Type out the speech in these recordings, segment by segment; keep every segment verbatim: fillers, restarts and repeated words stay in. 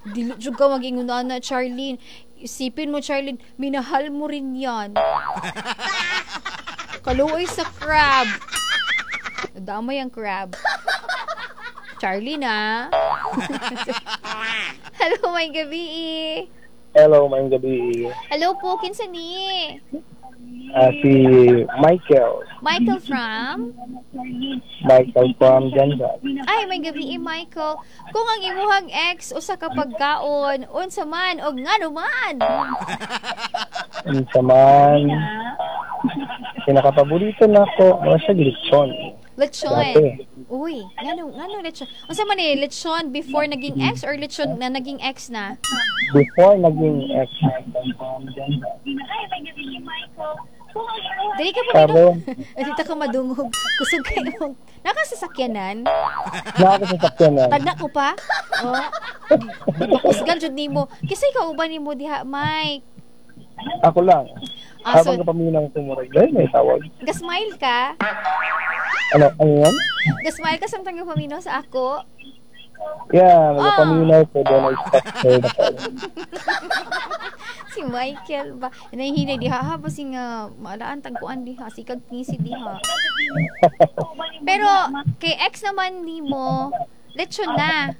Dili jud ka mag-ingon na, Charlene. Isipin mo, Charlene, minahal mo rin yan. Kaluoy sa crab. Nadamay ang crab. Charlene, ah. Hello, maayong gabi. Hello, maayong gabi. Hello po, kinsa ni? Ah, si Michael. Michael from? Michael from GenSan. Ay, maayong gabi, Michael. Kung ang imuhang ex usa ka pagkaon, unsa man og ngano man? Unsa man, pinakapaborito nako, mao siya lechon. Lechon. Dati. Uy, ngano ngano lechon? Unsa man eh, lechon before naging ex or lechon na naging ex na? Before naging ex. Dili ka pa Karon, Dili ka madungog. Kusog kayo mong nakasasakyanan. Nakasasakyanan. Tagna ko pa. Oh. Kusgan jud nimo. Kinsa kauban nimo diha, Mike? Ako lang. Ah, so, Habang kapaminaw ko murag, dahil may tawag. Gasmile ka? Ano, ano yan? Gasmile ka samtang gapaminaw sa ako? Yeah, Ah. nagapaminaw ko, then I stop her the call. Si Michael ba? Nahihinay diha ha, basi nga maalaan tagkuan diha, sikag ngisi diha. Pero kay ex naman nimo, lechon na.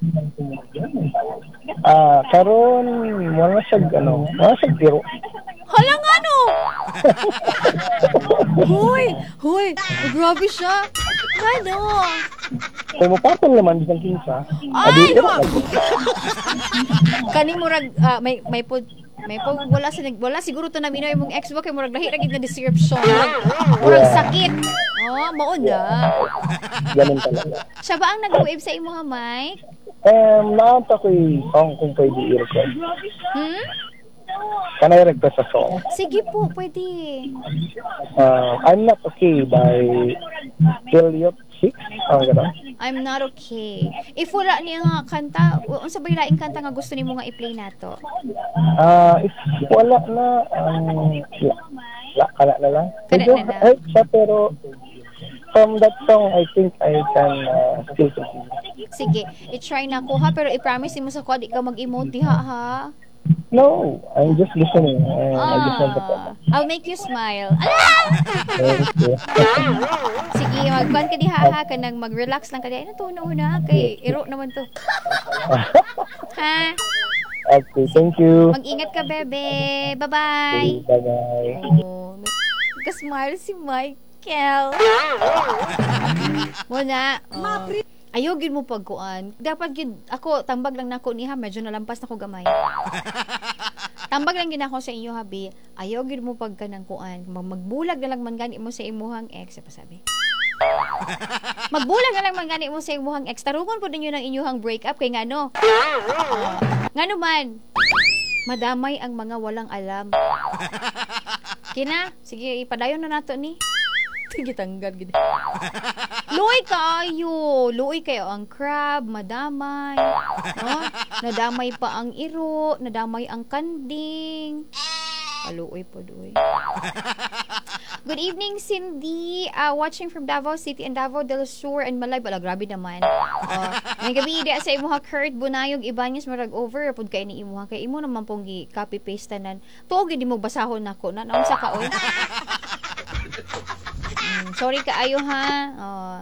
Ah, karon wala siya ano, wala siya tiro. Hala nga no. Hoy, hoy, grabe siya. Ano? Kung mapapal naman bisan kinsa. Ay, Adi, no. Kaning murag ah, may may pod may po wala sa nag wala siguro to naminaw imong ex ba kay murag lahi ra gid nga description. Murag, murag Yeah. sakit. Oh, mao na. Ganun talaga. Siya ba ang nag-wave sa imo ha, Mike? Um, naanta ko yung song kung pwede i-request. Hmm? Can I request a song? Sige po, pwede. Uh, I'm Not Okay by Elliot Six. Ah, gano'n. I'm not okay. If wala niya nga kanta, unsa ba yung laing kanta nga gusto nimo nga i-play nato? Ah, if wala na, um, la, la, kana na lang. Kana Medyo na lang. hype siya, pero from that song, I think I can uh, still continue. Sige, i-try na ko ha, pero i-promise mo sa ko di ka mag-emote diha ha. No, I'm just listening and I just want to Ah, I'll make you smile. Ala! Thank you. Sige, magkuan ka diha ha, kanang mag-relax lang ka diha. Ay, na na kay iro naman to. Ha? Okay, thank you. Mag-ingat ka, bebe. Bye-bye. Bye-bye. Oh, nagka-smile si Michael. Muna. Oh. Ayaw gid mo pagkuan. Dapat gid ako tambag lang nako niha, medyo nalampas na ko gamay. Tambag lang gid ako sa inyo habi. Ayaw gid mo pagka ng kuan. Mag magbulag na lang man gani mo sa imuhang ex, pa sabi. Magbulag na lang man gani mo sa imuhang ex. Tarungon po ninyo ng inyuhang break up kay ngano. Oh. Ngano man. Madamay ang mga walang alam. Kina, sige ipadayon na nato ni. Sige, tanggal gid. Luoy kaayo. Luoy kayo ang crab, madamay. No? Nadamay pa ang iro, nadamay ang kanding. Kaluoy po doy. Good evening, Cindy. Uh, watching from Davao City and Davao del Sur and Malay. Bala, grabe naman. Uh, maayong gabi, di sa imuha Kurt Bunayog Ibanez marag over pud kay ni imuha kay imo naman pong gi copy paste tanan. Tuog di mo basahon nako na naunsa ka oy. Mm, sorry kaayo ha. Uh,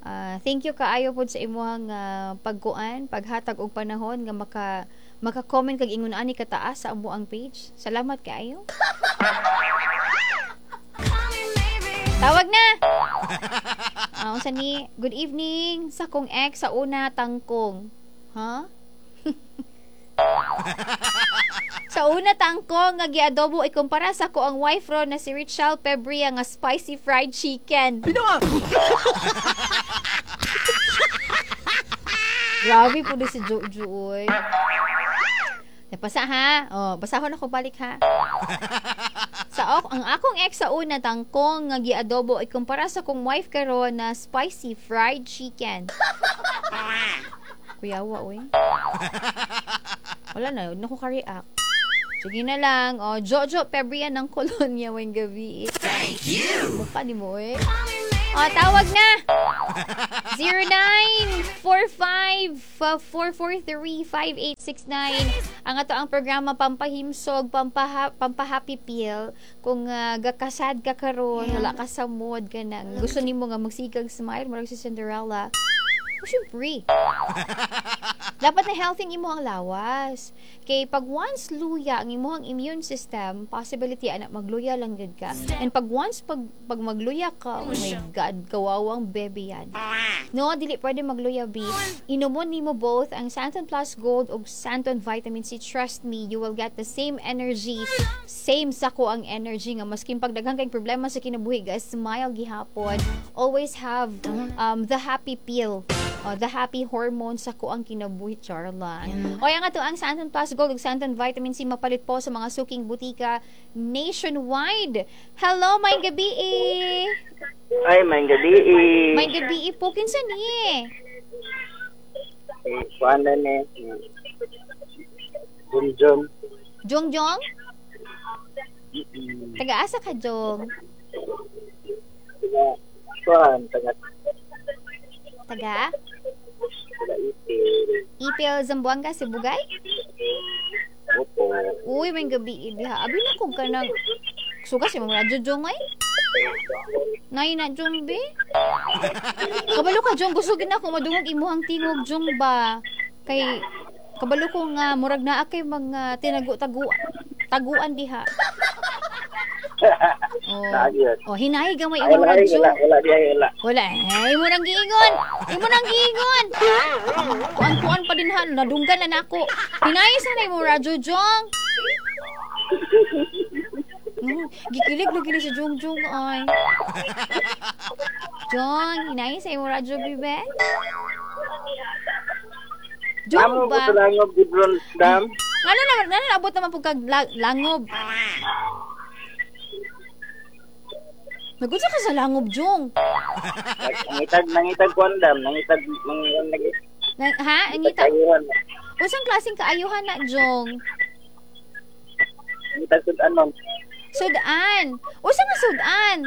uh, thank you kaayo pod sa imuhang uh, pagkuan, paghatag og panahon nga maka maka-comment kag ingon ani kataas sa amoang page. Salamat kaayo. Tawag na. Ah, unsa ni? Good evening sa kong ex sa una tangkong. Ha? Sa una tangkong nga giadobo ikumpara sa ko ang wife ro na si Richelle Pebria nga spicy fried chicken. Grabe po di si Jojo oy. Napasa ha. Oh, basahon ako balik ha. Sa ok, ang akong ex sa una tangkong nga giadobo ikumpara sa kong wife karon na spicy fried chicken. Kuyawa oy. Wala na, na ko ka-react. Sige na lang. Oh, Jojo Pebria ng Colonia weng gabi. Thank you. Mukha ni mo eh. Oh, tawag na. zero nine four five, four four three, five eight six nine. Ang ato ang programa pampahimsog, pampaha, pampahappy pill. Kung uh, gakasad ka karon, wala ka sa mood ka nang gusto nimo nga magsigag smile murag si Cinderella. O syempre, dapat na healthy ang imong lawas. Kay pag once luya ang imong immune system, possibility ana magluya lang gud ka. And pag once pag, pag magluya ka, oh my God, kawawang baby yan. No, dili pwede magluya, B. Inumon nimo both ang Santon Plus Gold ug Santon Vitamin C. Trust me, you will get the same energy, same sako ang energy nga maskin pag daghan kay problema sa kinabuhi, guys, smile gihapon. Always have um, the happy pill. Oh, the happy hormone sa ko ang kinabuhi, Charlan. O, ang ato ang Santon Plus Gold ug Santon Vitamin C mapalit po sa mga suking butika nationwide. Hello, maayong gabi eh. Ay, maayong gabi eh. Maayong gabi po, kinsa ni? Eh, kuan na ni. Jum. Jong Jong? Taga-asa ka, Jong? Kuan, taga Taga? Taga Ipil. Ipil, Zamboanga, Sibugay? Opo. Uy, maayong gabi diha. Abi na kog kanang suka si mga radyo, Jong, ay. Nay na, Jong, be. Kabalo ka, Jong, gusto gid na ako madungog imuhang tingog, Jong, ba. Kay kabalo ko nga murag naa kay mga tinagu-tagu taguan diha. Oh. Naagiyot. Oh, hinay gamay Ay, imong wala, radyo. wala, wala, di ay, wala. Wala, eh, imo nang giingon. Imo nang giingon. Kuan-kuan pa din ha, nadunggan na nako. Hinay sa na imong radyo, Jong. Mm, gikilig lagi ni si Jong Jong ay. Jong, hinay sa imong radyo, bibe. Jong Amo ko ba? sa Langob, Gibron Dam. Ngano naman, ngano naabot naman po kag la- langob? Nagunsa ka sa langob, Jong? Nangitag, nangitag kuan dam, nangitag, nangitag, lagi. Na, ha? Ang ngita. Kayuhan. Unsang klaseng kaayuhan na, Jong? Nangitag sud-anon. Sudan. Unsa nga sudan?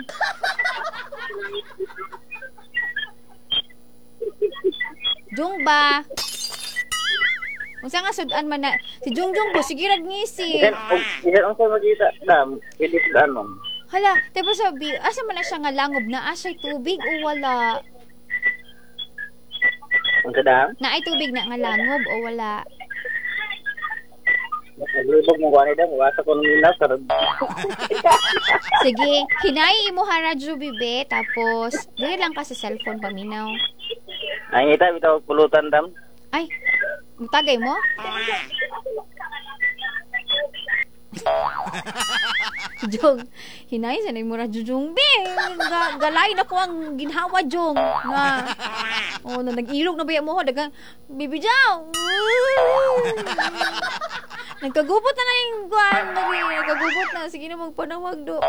Jong ba? Unsa nga sudan man na? Si Jong Jong bo sige rag ngisi. Bisan, bisan unsa magita dam, pwede sud-anon. Hala, tipo sabi, asa man na siya nga langob na asay tubig o wala? Unsa dam? Na ay tubig na nga langob o wala? Naglubog mo kuan dam, wasa ko nung minaw sarad. Sige, hinay imo ha radyo bibe tapos dili lang ka sa cellphone paminaw. Nangita bitaw pulutan dam. Ay, tagay mo? Jong, hinay sa mo radyo Jong be. Ga, galay na ko ang ginhawa Jong. Na. Oh, na nag-ilog na ba mo dagang bibi Jong. Nagkagupot na na yung kuan, lagi nagkagupot na sige na magpanawag do.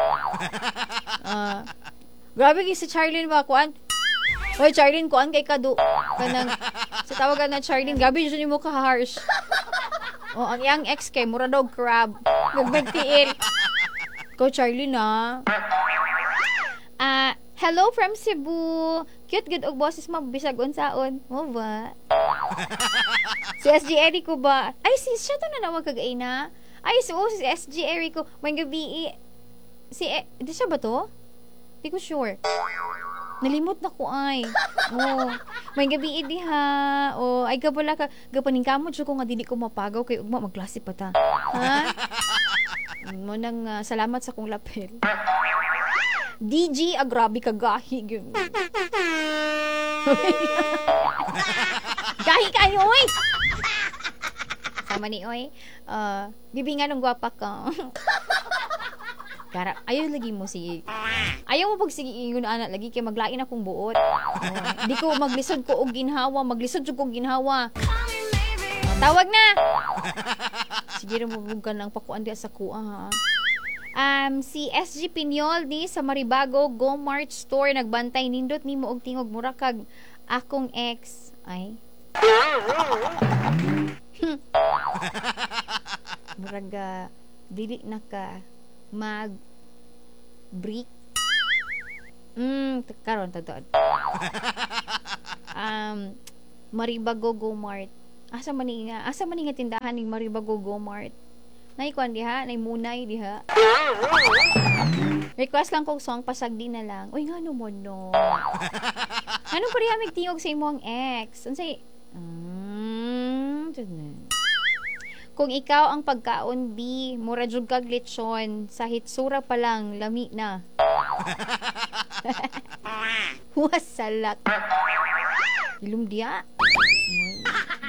Ah. Grabe kay si Charlene ba kuan? Oy, Charlene, kuan kay kadu. Kanang sa tawagan na Charlene, grabe jud nimo ka harsh. Oh, ang iyang ex kay mura daw crab. Nagmagtiil. Ko Charlene ah. Ah, hello from Cebu. Cute gud og boses mo bisag unsaon. Mo ba? Si S G Erico ba? Ay, si siya to na nawag kag na. Ay, si, oh, si S G Erico. May gabi eh. Si, eh, di siya ba to? Di ko sure. Nalimot na ko ay. Oh, may gabi diha. Oh, ay gabala ka. Gapaning kamot siya ko nga dili ko mapagaw kay ugma magklase pa ta. Ha? Mo nang ah, salamat sa kong lapel. D G, ah, grabe ka gahi. Gyud. Gahi kayo, oy! Sama ni, oy. Uh, bibi nga nung gwapa ka. Kara, ayaw lagi mo si ayaw mo pag sige ingon ana lagi kay maglain akong buot. Oh, di ko maglisod ko og ginhawa, maglisod jud ko og ginhawa. Oh, tawag na. Sige ra mo ka nang pakuan di sa kuha ha. Um, si S G Pinyol ni sa Maribago Go Mart Store nagbantay nindot nimo og tingog mura kag akong ex. Ay. Murag ah, dili na ka mag break. Mm, karon tagtuod. Um, Maribago Go Mart. Asa man ni nga? Asa man ni nga tindahan ning Maribago Go Mart? Nay kuan diha, nay munay diha. Request lang kog song pasagdi na lang. Uy, ngano mo no? Ngano pa diha tingog sa imong ex? Unsay Mm, Kung ikaw ang pagkaon B, mura jud kag lechon, sa hitsura pa lang lami na. Wasalak. Ilom diya.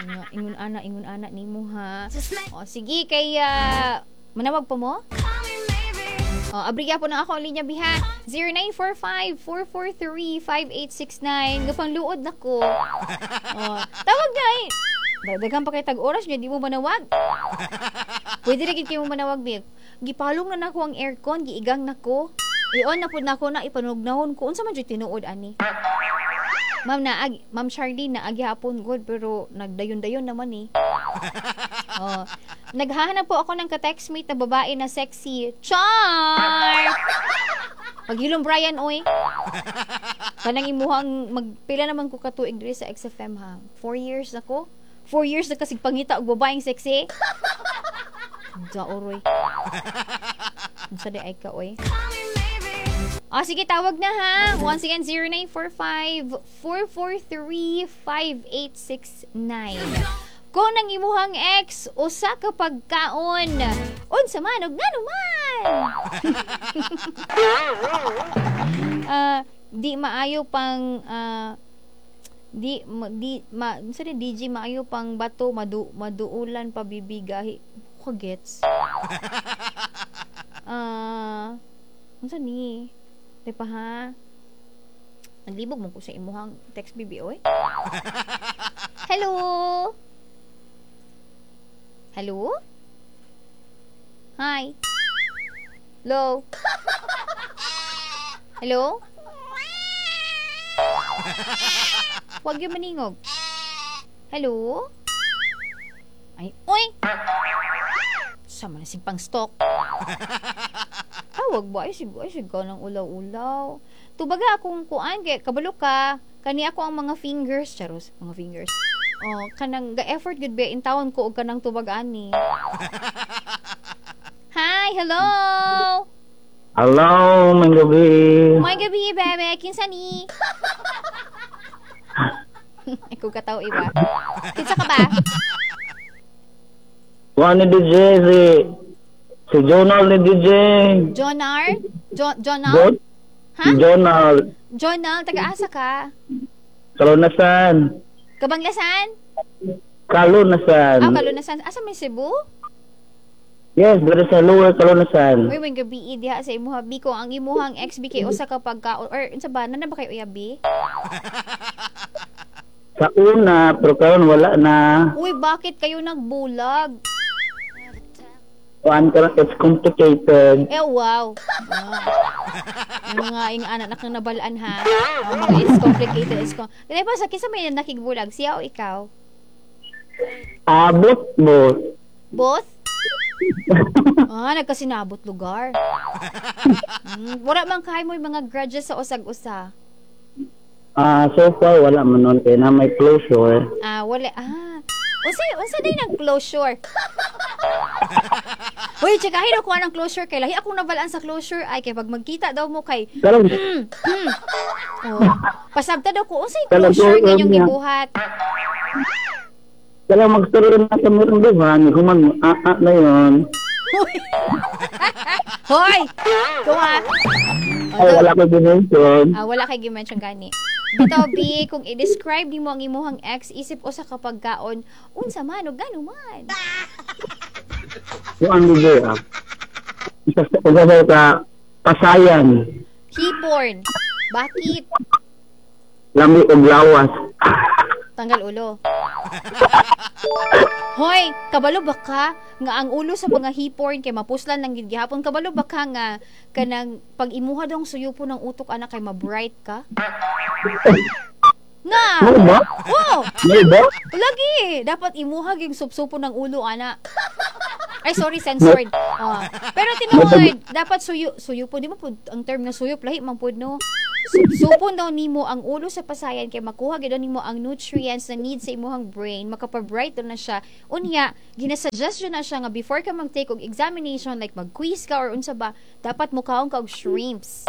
Nga, ingon ana, ingon ana nimo ha. O sige kay uh, manawag pa mo? O, abriya po na ako ang linya biha. zero nine four five, four four three, five eight six nine. Gapang luod na ko. O, tawag na eh. Dagdagan pa kay tag-oras niya, di mo manawag. Pwede rin kayo mo manawag, Big. Gipalong na nako ang aircon, giigang nako. I-on na po nako na, ipanugnahon ko. Unsa man jud tinuod ani? Ma'am naag, Ma'am Charlene naagi hapon good pero nagdayon-dayon naman eh. Oh. Naghahanap po ako ng ka-textmate na babae na sexy. Char! Paghilom Brian oy. Kanang imuhang magpila naman ko katuig diri sa X F M ha. Four years na ko. Four years na kasig pangita og babaeng sexy. Daoroy. Unsa di ay ka oy? Ah, sige, tawag na ha. Once again, zero nine four five, four four three, five eight six nine. Kung ang imuhang ex, usa ka pagkaon. Unsa man og ngano man. uh, di maayo pang uh, di di ma unsa di D J maayo pang bato madu, maduulan pa bibigahi. Ko gets. Ah, uh, unsa ni? Di pa ha? Naglibog mo ko sa imuhang text B B oy. Hello? Hello? Hi? Hello? Hello? Huwag yung maningog. Hello? Ay, oy! Sama na simpang stock. Tawag ba? Ay, sig, ay, sig ka ng ulaw-ulaw. Tubaga akong kuan, kay kabalo ka. Kani ako ang mga fingers. Charos, mga fingers. Oh, kanang ga-effort gud ba intawon ko og kanang tubag ani. Hi, hello. Hello, may gabi. May gabi, bebe. Kinsa ni? Ikaw kataw iba. Kinsa ka ba? Kuan ni D J si si Jonal ni D J. Jonar? Jo Jonal? Bon? Ha? Jonal. Jonal, taga-asa ka? Kalunasan. Kabanglasan? Kalunasan. Ah, Kalunasan. Asa may Cebu? Yes, dito sa Lower Kalunasan. Uy, may gabi diha sa imuha B ko ang imuhang X B K usa ka pagka or unsa ba nana ba kayo uya B? Sa una, pero karon wala na. Uy, bakit kayo nagbulag? Kuan karon it's complicated. Eh, wow. Ah. Yung mga ing anak na kang nabalaan ha. Ang mga it's complicated. It's com- Dili pa sa kinsa may nakigbulag, siya o ikaw? Ah, both, both. Both? Ah, nagkasinabot lugar. Mm, wala man kay mo yung mga grudges sa usag-usa. Ah, so far wala man nun kay na may closure. Ah, wala. Ah. Unsa unsa day nang closure? Uy, tsakahin ako anang closure kay lahi akong nabalaan sa closure ay kay pag magkita daw mo kay Karon mm, mm. Oh, pasabta daw ko unsay Kalang closure closure ninyong niya. gibuhat. Kala magstorya na sa murang duha, ni human ah, ah, na yun. Hoy! Kuha! Ay, wala ko dimension. Ah, wala kay gi-mention gani. Bitaw, B, kung i-describe nimo ang imuhang ex, isip usa ka pagkaon, unsa man o gano man. Yung ang D J, ah. Isa sa isa sa ka, pasayan. Hiporn. Bakit? Lami og lawas. Tanggal ulo. Hoy, kabalo ba ka nga ang ulo sa mga hiporn kay mapuslan lang gid gihapon? Kabalo ba ka nga kanang pag imuha dong suyupo ng utok anak kay ma-bright ka? Nga. Mo ba? Oh, Mo ba? lagi. Dapat imuha gyud supsupo ng ulo ana. Ay, sorry, censored. Oh. Pero tinuod, dapat suyo, suyo po, di ba po ang term nga suyop lahi man pud no. Supsupon daw nimo ang ulo sa pasayan kay makuha gyud nimo ang nutrients na need sa imuhang brain, makapa-bright daw na siya. Unya, ginasuggest jud na siya nga before ka mag-take og examination like mag-quiz ka or unsa ba, dapat mukaon ka og shrimps.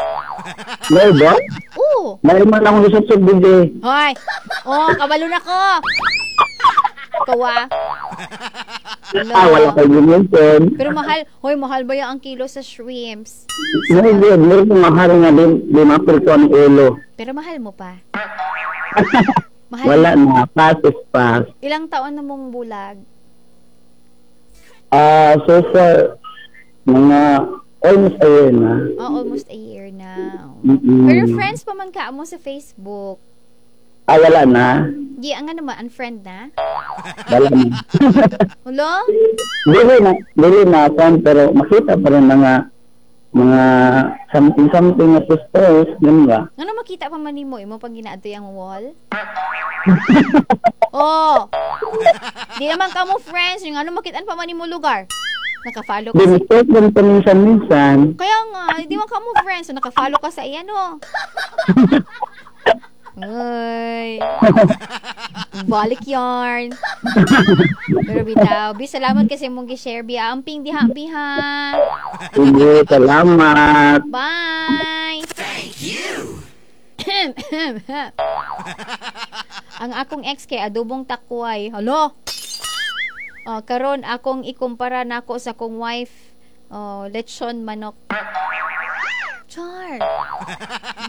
May ba? Oo. May man akong gisupsup DJ. Hoy. Oh, kabalo na ko. Kawa. Hello. Ah, wala kay gimension. Pero mahal, hoy, mahal ba yung ang kilo sa shrimps? May good, meron kong mahal nga din, di mapil ko ang ulo. Pero mahal mo pa. Mahal. Wala na, pass is pass. Ilang taon na mong bulag? Ah, so far, mga almost a year na. Oh, almost a year now. Mm-mm. Pero friends pa man ka mo sa Facebook. Ah, wala na. Di, ang ano naman, unfriend na? Wala na. Hulo? Dili na, dili na, friend, pero makita pa rin mga mga something something na post, ganun ba? Ano makita pa man nimo imo pag ginaadto ang wall? Oh. Di naman ka mo friends, yung ano makitaan pa man nimo lugar. Naka-follow ka Di, sa mistake din paminsan-minsan. Kaya nga, di man ka mo friends, so naka-follow ka sa iya no. Ay. Balik yarn. Pero bitaw, bi salamat kasi mong gi-share bi. Amping diha bi ha. Sige, salamat. Bye. Thank you. Ang akong ex kay adobong takway. Halo. Oh, karon akong ikumpara nako sa akong wife. Oh, lechon manok. Char.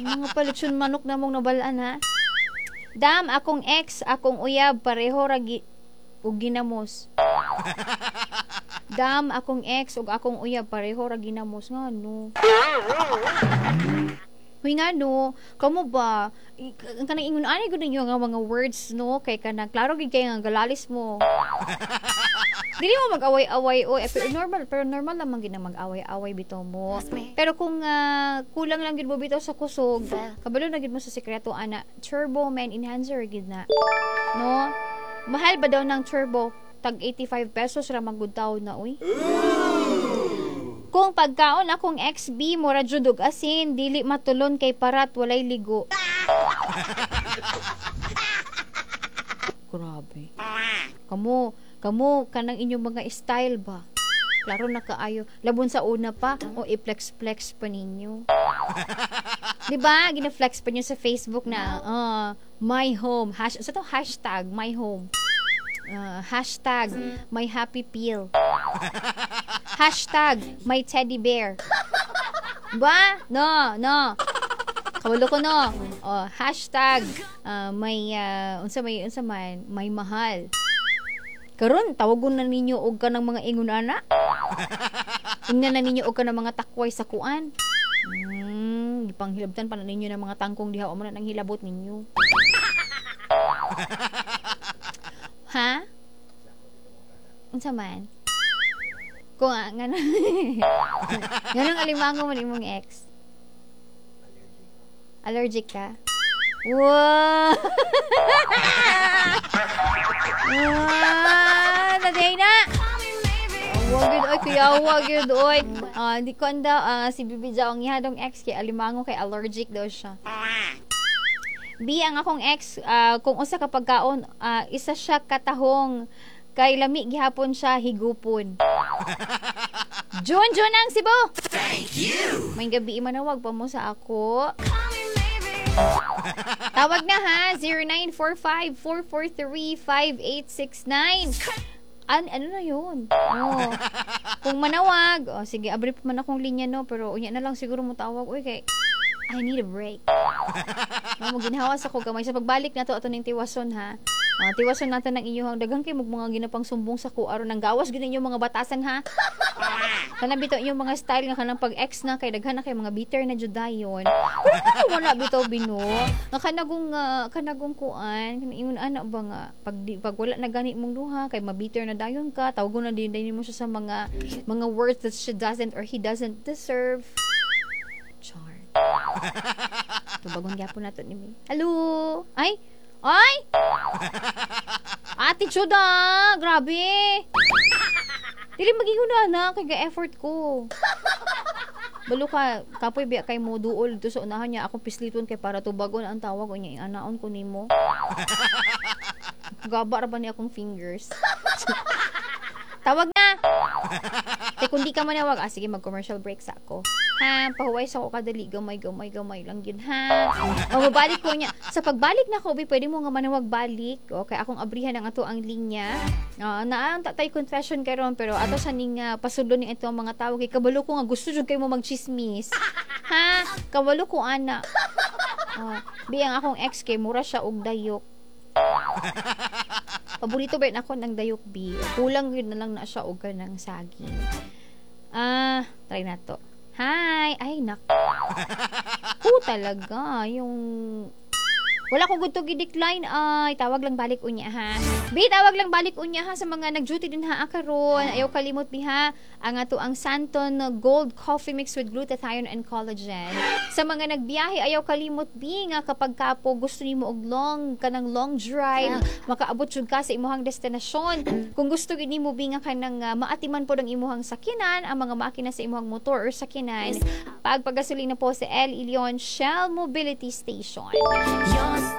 May mga pa lechon manok na mong nabalaan ha. Dam, akong ex, akong uyab, pareho ra gi og ginamos. Dam, akong ex ug akong uyab pareho ra ginamos nga no. Huy nga no, kamo ba i- ang kanang ingon ani gud ninyo nga mga words no kay kanang klaro gid kay nga galalis mo. Dili mo mag-away-away oy, eh, pero normal pero normal lamang gid na mag-away-away bitaw mo. Pero kung ah, kulang lang gid mo bitaw sa kusog, kabalo na gid mo sa sekreto ana, turbo man enhancer gid na. No? Mahal ba daw ng turbo? Tag eighty-five pesos ra magud taw na uy. Kung pagkaon akong X B mura jud og asin, dili matulon kay parat walay ligo. Grabe. Kamo, kamo kanang inyong mga style ba? Klaro na kaayo. Labon sa una pa o i-flex-flex pa ninyo. 'Di ba? Gina-flex pa niyo sa Facebook na uh, my home hash sa to hashtag my home. Uh, hashtag my happy pill. Hashtag my teddy bear. Ba? No, no. Kabalo ko no. Oh, hashtag uh, may uh, unsa may unsa man may mahal. Karon tawagon na ninyo og kanang mga ingon ana. Ingnan na ninyo og kanang mga takway sa kuan. Hmm, gipanghilabtan pa na ninyo ng mga tangkong diha mo na nang hilabot ninyo. Ha? Unsa man? Kung uh, ngano nganong alimango man imong ex? Allergic ka? Wow! Wow! Naday na! Wag yun, oy, kuya, wag yun, oy. Ah, di ko anda, ah, si Bibi Jao, ang ihadong ex kay alimango kay allergic daw siya. B, ang akong ex, ah, kung usa ka pagkaon, ah, isa siya katahong kay lami gihapon siya higupon. Jun, Jun ang Cebu! Thank you! May gabi manawag pa mo sa ako. Tawag na ha, zero nine four five, four four three, five eight six nine. An ano na yun? Oh. Kung manawag, oh, sige, abri pa man akong linya no, pero unya na lang siguro mo tawag. Uy, kay I need a break. No, ginhawas ako gamay. Sa pagbalik na to, ato ning tiwason ha. Uh, tiwason natin ng inyong daghan kay mga ginapang sumbong sa K U aron nang gawas gid inyong mga batasan ha. Kana bitaw inyong mga style nga kanang pag-ex na kay daghan na kay mga bitter na jud dayon. Pero kana wala bitaw bino. Nga kanagong uh, kanagong kuan, kanang ingon ana ba nga pag di, pag wala na gani mong duha kay mabitter na dayon ka, tawgon na din din mo siya sa mga mga words that she doesn't or he doesn't deserve. Char. Tubagon gyapon nato ni May. Hello. Ay. Ay! Ate Chuda! Grabe! Dili maging una na, kay ga-effort ko. Balo ka, kapoy biya kay mo duol dito sa unahan niya. Akong pisliton kay para tubagon ang tawag unya anaon ko nimo. Gaba ra ba ni akong fingers? Tawag na! Kay kung di ka manawag, ah, sige, mag-commercial break sa ako. Ha, pahuway sa ako kadali, gamay, gamay, gamay lang yun, ha? O, mabalik ko niya. Sa pagbalik na ko, pwede mo nga manawag balik. Okay, akong abrihan ang ato ang linya. Uh, naang tatay confession karon pero ato sa ning uh, pasudlo ni ito ang mga tawag kay kabalo ko nga gusto jud kay mo magchismis. Ha? Kabalo ko ana. Uh, biyang akong ex kay mura siya og dayok. Paborito ba ako ng dayok B? Kulang yun na lang na siya og kanang saging. Ah, try na to. Hi! Ay, nak. Ko talaga. Yung wala ko gusto gi-decline ay tawag lang balik unya ha. Bi tawag lang balik unya ha sa mga nag-duty din ha karon. Ayaw kalimot bi ha ang ato ang Santon Gold Coffee Mix with glutathione and collagen. Sa mga nagbiyahe ayaw kalimot bi nga kapag kapo gusto nimo og long kanang long drive makaabot jud ka sa imuhang destinasyon. Kung gusto gid nimo bi nga kanang uh, maatiman pod ang imuhang sakyanan, ang mga makina sa imuhang motor or sakyanan, pagpagasolina po sa El Ilion Shell Mobility Station.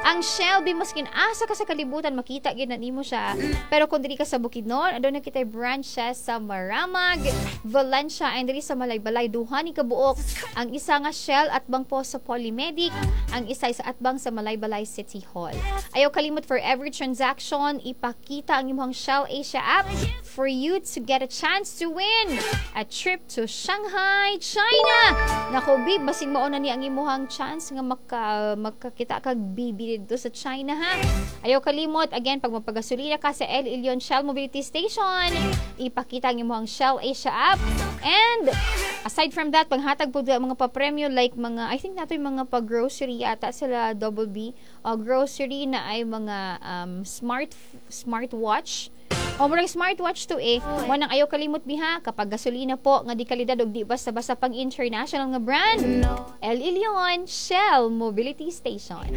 Ang Shell, bi maskin asa ka sa kalibutan, makita gid na nimo siya. Pero kung diri ka sa Bukidnon, aduna kitay branches sa Maramag, Valencia, and diri sa Malaybalay, duha ni kabuok. Ang isa nga Shell atbang po sa Polymedic, ang isa sa atbang sa Malaybalay City Hall. Ayaw kalimot for every transaction, ipakita ang imong Shell Asia app for you to get a chance to win a trip to Shanghai, China. Nako, bi, basing mao na ni ang imuhang chance nga maka, makakita kag bibi dito sa China ha. Ayaw kalimot, again, pag mapagasolina ka sa El Ilion Shell Mobility Station, ipakita ang imuhang Shell Asia app. And, aside from that, panghatag po ang mga papremyo like mga, I think nato yung mga pag-grocery yata sila Double B, uh, grocery na ay mga um, smart smartwatch O murag smartwatch to eh. Mo nang ayaw kalimot biha kapag gasolina po nga di kalidad og di basta-basta pang international nga brand. El Ilion Shell Mobility Station.